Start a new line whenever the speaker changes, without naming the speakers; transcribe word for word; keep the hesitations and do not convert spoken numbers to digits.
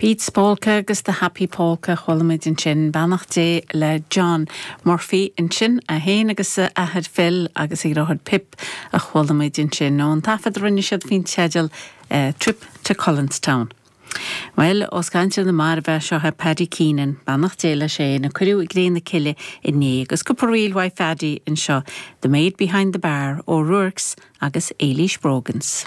Pete's Polka agus the Happy Polka chuala muid ansin beannacht Dé le John Murphy ansin é féin agus a athair Phil agus a dheartháir Pip a chuala muid ansin ón taifead a rinne siad faoin teideal uh, Trip to Cullenstown. Well os caint na mairbh seo é Paddy Keenan beannacht Dé leis é a cuireadh i gcré na cille inné agus cúpla ríl uaidh Phaddy anseo, The Maid Behind the Bar ó Ruaircs agus Éilís Brogans.